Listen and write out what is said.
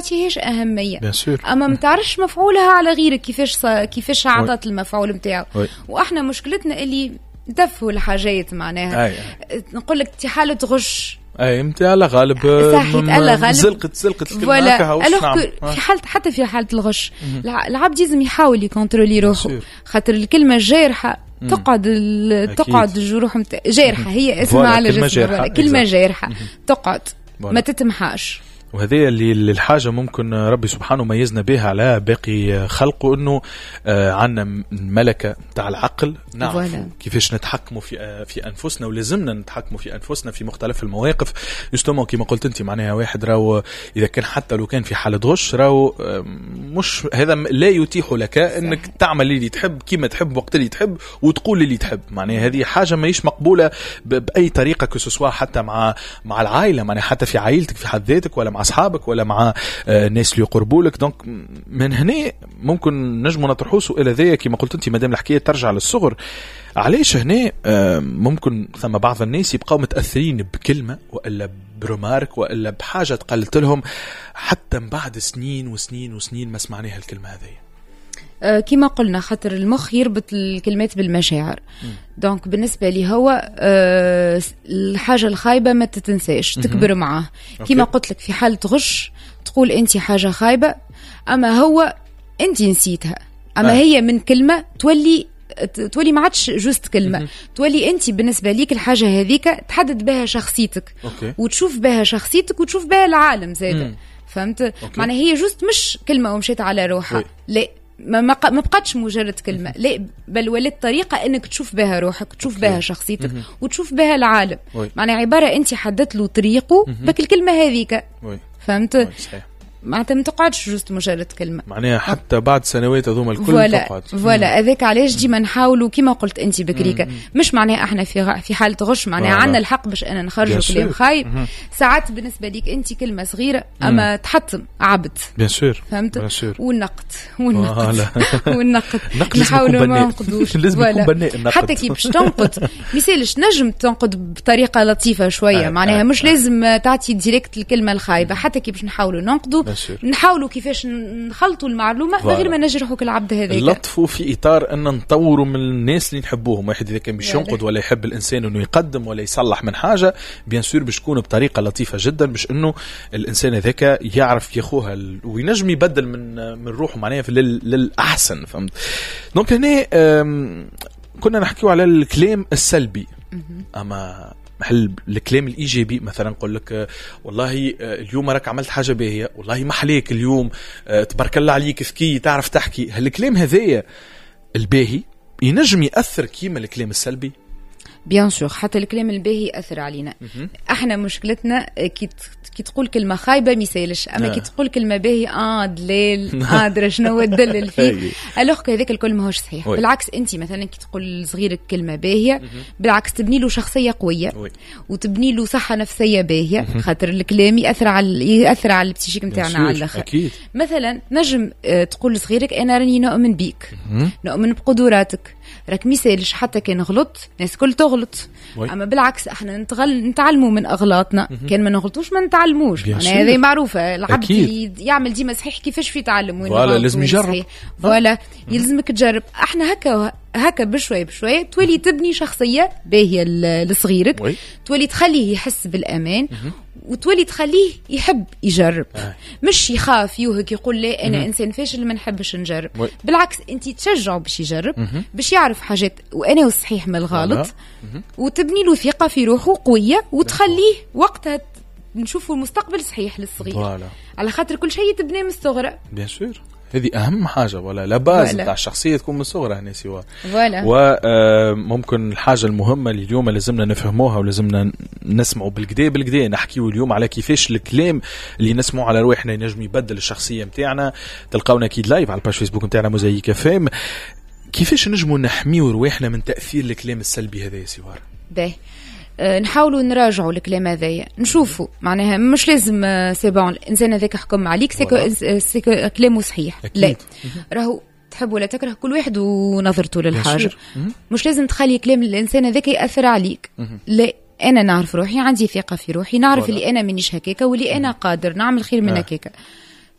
تعطيهاش اهميه. bien sûr. اما ما تعرفش مفعولها على غيرك، كيفاش عطت المفعول نتاعو. واحنا مشكلتنا اللي نتفهوا الحاجات معناها. نقول لك في حاله غش. اي، انت على غالب. صحيح، على غالب. زلقت الكلمه. voilà، في حالة، حتى في حاله الغش العبد لازم يحاول ي contrôler روحه، خاطر الكلمة الجارحه تقعد الجروح جارحه، هي اسمها على جسمها جارحة. كلمة جارحه تقعد ما تتمحاش. وهذه اللي الحاجة ممكن ربي سبحانه ميزنا بها على باقي خلقه، انه عندنا ملكة تاع العقل، نعرف كيفاش نتحكموا في انفسنا، ولازمنا نتحكموا في انفسنا في مختلف المواقف. justement كما قلت انت، معناها واحد راهو اذا كان حتى لو كان في حالة غش، راهو مش هذا لا يتيح لك انك تعمل اللي تحب، كيما تحب، وقت اللي تحب، وتقول اللي تحب. معناها هذه حاجة ماهيش مقبولة بأي طريقة، que ce soit حتى مع العائلة، معناها حتى في عائلتك في حد ذاتك، ولا مع اصحابك، ولا مع الناس اللي يقربوا لك. donc من هنا ممكن نجموا نطرحوا سؤال هذايا، كما قلت انت مادام الحكاية ترجع للصغر، علاش هنا ممكن ثم بعض الناس يبقاو متاثرين بكلمه والا ب remarque والا بحاجة تقالت لهم حتى من بعد سنين وسنين وسنين ما سمعناها الكلمة هذه؟ كما قلنا، خاطر المخ يربط الكلمات بالمشاعر. donc بالنسبة لي هو الحاجة الخايبة ما تتنساش، تكبر معاه. كما قلت لك، في حاله غش تقول انت حاجة خايبه، اما هو انت نسيتها، اما هي من كلمة تولي ما عادش juste كلمه، تولي انت بالنسبة ليك الحاجة هذيك تحدد بها شخصيتك وتشوف بها شخصيتك وتشوف بها العالم زاد، فهمت؟ معناها هي juste مش كلمة ومشيت على روحها. لا، ما بقتش مجرد كلمه، لا، بل ولات طريقه انك تشوف بها روحك، تشوف بها شخصيتك، وتشوف بها العالم. معناها عبارة انت حددت له طريقه بك الكلمة هذيك، فهمت؟ معناتها ما تقعدش juste مجرد كلمه. معناها حتى بعد سنوات هذوما الكل تقعد. voilà، هذاك علاش ديما نحاولوا، كيما قلت انت بكريكا، مش معناها احنا في حاله غش معناها عندنا الحق باش انا نخرجوا كلام خايب. ساعات بالنسبة ليك انت كلمة صغيرة اما تحطم عبد. bien sûr. فهمت؟ والنقد والنقد والنقد، نحاولوا ما ننقدوش. لازم يكون بناء النقد. حتى كي باش تنقد ميسالش، نجم تنقد بطريقة لطيفة شويه، معناها مش لازم تعطي direct الكلمة الخايبه. حتى كي باش نحاولوا ننقدوا، نحاولوا كيفاش نخلطوا المعلومة من غير ما نجرحوا العبد هذاك. اللطف في اطار ان نطوروا من الناس اللي نحبوهم. واحد اذا كان باش ينقد ولا يحب الانسان انه يقدم ولا يصلح من حاجه، bien sûr باش تكون بطريقة لطيفة جدا، باش انه الانسان هذاك يعرف ياخوها وينجم يبدل من روحه معناها للاحسن، فهمت؟ donc هنا كنا نحكيو على الكلام السلبي، اما هل الكلام الايجابي، مثلا نقول لك والله اليوم راك عملت حاجة باهيه، والله ما حليك اليوم، تبارك الله عليك، ذكي، تعرف تحكي، هل الكلام هذايا الباهي ينجم ياثر كيما الكلام السلبي؟ bien sûr، حتى الكلام الباهي ياثر علينا. احنا مشكلتنا كي تقول كلمة خايبة ما يسالش، اما كي تقول كلمة باهيه، دلال، درا شنو تدلل فيه، alors هذاك الكل ماهوش صحيح. بالعكس، انت مثلا كي تقول لصغيرك كلمة باهيه، بالعكس تبني له شخصية قوية وتبني له صحة نفسية باهيه، خاطر الكلام ياثر على ال psychique نتاعنا على الاخر. مثلا نجم تقول لصغيرك انا راني نؤمن بيك، نؤمن بقدراتك، راك ميسالش حتى كان غلط، الناس الكل تغلط. اما بالعكس احنا نتعلموا من اغلاطنا، كان ما نغلطوش ما نتعلموش. هذه معروفه، العبد يعمل ديما صحيح كيفاش في يتعلم؟ وين لازم يجرب. voilà، يلزمك تجرب. احنا هكا هكا بشوي بشوي تولي تبني شخصية باهيه لصغيرك، تولي تخليه يحس بالامان وتولي تخليه يحب يجرب، مش يخاف يوهك يقول لا انا انسان فاشل ما نحبش نجرب. بالعكس، انت تشجعه باش يجرب، باش يعرف حاجات وانا الصحيح من الغلط، وتبني له ثقة في روحه قويه، وتخليه وقتها نشوفوا المستقبل صحيح للصغير، على خاطر كل شيء تبني من الصغرى. bien sûr، هذه اهم حاجه، ولا la base نتاع الشخصية تكون من الصغر هنا سوا. voilà. وممكن الحاجة المهمة اللي اليوم لازمنا نفهموها ولازمنا نسمعوا بالقدا بالقدا، نحكيو اليوم على كيفاش الكلام اللي نسمعوا على رواحنا ينجم يبدل الشخصية نتاعنا. تلقاونا اكيد live على ال page Facebook نتاعنا موزايك FM. كيفاش نجموا نحميو رواحنا من تاثير الكلام السلبي هذا يا سوار؟ باهي، نحاولوا نراجعوا الكلام هذايا، نشوفوا معناها مش لازم c'est bon الانسان هذاك حكم عليك، c'est que كلامه صحيح. لا، راهو تحب ولا تكره كل واحد ونظرته للحاجه. مش لازم تخلي كلام الانسان هذاك ياثر عليك. لا، انا نعرف روحي، عندي ثقة في روحي، نعرف اللي انا مانيش هكاكا واللي انا قادر نعمل خير من هكاكا.